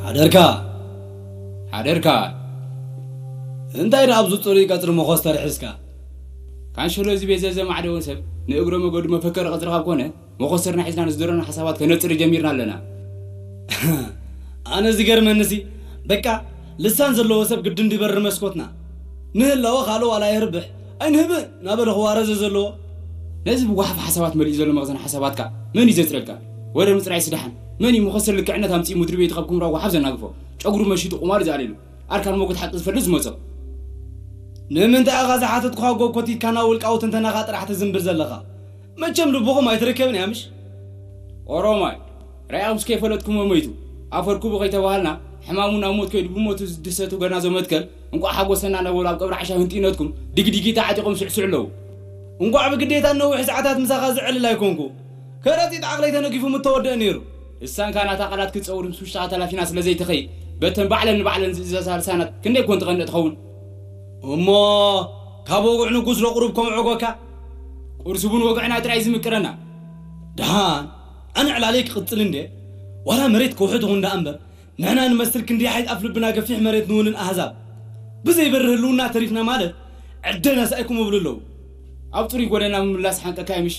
ሓደርካ ሓደርካ እንታይ ደኣ ኣብዚ ጽሩይ ቀጽሪ መኾስተር ሒዝካ? ካንሸሎ እዚ ቤት ዘዘማዕደወ ሰብ ንእግረ መገዱ መፈከሪ ቀጽሪ ካብ ኮነ፣ መኾስተርና ሒዝና ንዝደረና ሓሳባት ከነጽሪ ጀሚርና ኣለና። ኣነ ዝገርመንሲ በቃ ልሳን ዘለዎ ሰብ ግድን ድበሪ መስኮትና። ንህላወ ካልእ ዋላ የርብሕ ኣይንህብእ ናበለ ክዋረዘ ዘለዎ። ነዚ ብጓሓፍ ሓሳባት መሊኡ ዘሎ መኽዘን ሓሳባትካ መን እዩ ዘጽረልካ? ወረ ምጽራይ ስዳሓን መን እዩ መኾስተር ልክዕነት ኣምጺኡ ምድሪ ቤቱ ካብ ኩምራ ጓሓፍ ዘናግፎ? ጨጉሩ መሺጡ ቁማር ዝኣልየሉ ኣርካን ሞጎት ሓቂ ዝፈልጥ ዝመጾ። ንምንታይ ኢኻ ዝሓተትኩኻ ጎኮቲትካ ናብ ውልቃዊ ትንተናኻ ጥራሕ ትዝንብል ዘለኻ? መቸም ልብኹም ኣይትርከብን እያ ምሽ? ኦሮማይ ራእኹምስ ከይፈለጥኩሞ መይቱ ኣፈርኩቡ ከይተባሃልና ሕማሙ ናብ ሞት ከይዱ ብሞቱ ዝድሰቱ ገናዞ መትከል እንቋዕ ሓጎሰና ነበሩ ኣብ ቀብሪ ዓሻ ህንጢነትኩም ድግዲጊታ ዓጢቖም ስዕስዕ ኣለዉ። እንቋዕ ብግዴታ ነዊሕ ሰዓታት ምሳኻ ዝዕልል ኣይኮንኩ። ከረጢት ዓቕለይ ተነጊፉ ምተወደአ ነይሩ። እሳን ካናታ ቃላት ክትጸውር ምስ ውሽጣ ተላፊና ስለ ዘይትኸይድ በተን ባዕለን ንባዕለን ዝእዘዛ ልሳናት ክንደይ ኮን ትቐንእ ትኸውን? እሞ ካብ ወግዕ ንጉስ ዶ ቁሩብ ከምዕጎካ? ቁርሲ እውን ወግዕና ጥራይ ዝምቅረና። ደሓን ኣነ ዕላለይ ክቕጽል እንዴ? ዋላ መሬት ከውሒ ትኹን ደኣ እምበር ንሕና ንመስል ክንደይ ሓይት ኣፍ ልብና ገፊሕ መሬት ንውንን ኣህዛብ ብዘይበሪ ህልውና ተሪፍና ማለት ዕደና ሳኢኩም እብሉ ኣለዉ። ኣብ ጽሩይ ጎደና ምምላስ ሓንቀካ ይምሽ።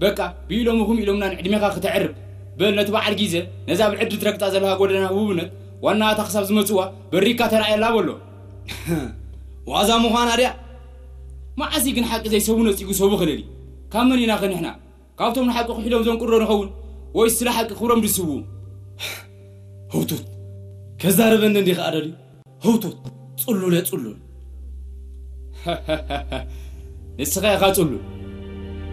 በቃ ብኢሎምኹም ኢሎምና ንዕድሜኻ ክተዕርብ በል ነቲ በዓል ግዜ ነዛ ብዕድል ትረግጣ ዘለኻ ጎደና ህቡብነት ዋናታ ክሳብ ዝመጽዋ በሪካ ተራእየላ በሎ። ዋዛ ምዃና ድያ? መዓስ ግን ሓቂ ዘይሰቡ ነጺጉ ሰቡ ክልል እዩ? ካብ መን ኢና ከ ንሕና? ካብቶም ንሓቂ ክሒዶም ዘንቁሮ ንኸውን? ወይስ ስለ ሓቂ ክብሮም ድስዉ? ህውቱት ከዛረበኒ እንዲ ከኣ ደልዩ ህውቱት ጽሉል እየ ጽሉል። ንስኻ ኢኻ ጽሉል።